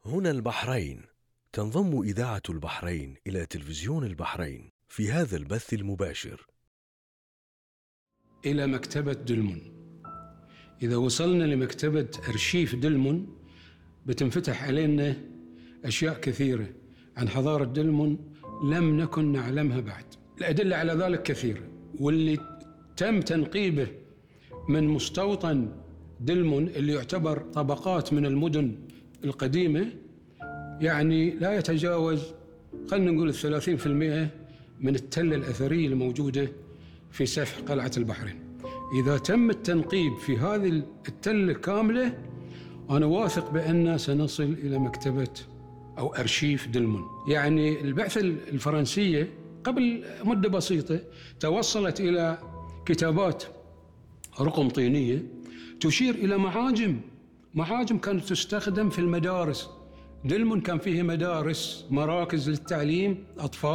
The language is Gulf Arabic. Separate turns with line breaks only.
هنا البحرين. تنضم إذاعة البحرين إلى تلفزيون البحرين في هذا البث المباشر.
إلى مكتبة دلمن. إذا وصلنا لمكتبة أرشيف دلمن بتنفتح علينا أشياء كثيرة عن حضارة دلمن لم نكن نعلمها بعد. الأدلة على ذلك كثيرة، واللي تم تنقيبه من مستوطن دلمن اللي يعتبر طبقات من المدن القديمة، يعني لا يتجاوز خلينا نقول 30% من التلة الأثرية الموجودة في سفح قلعة البحرين. إذا تم التنقيب في هذه التلة كاملة، أنا واثق بأن سنصل إلى مكتبة أو أرشيف دلمن. يعني البعثة الفرنسية قبل مدة بسيطة توصلت إلى كتابات رقم طينية تشير إلى معاجم كانت تستخدم في المدارس. دلمن كان فيه مدارس، مراكز للتعليم أطفال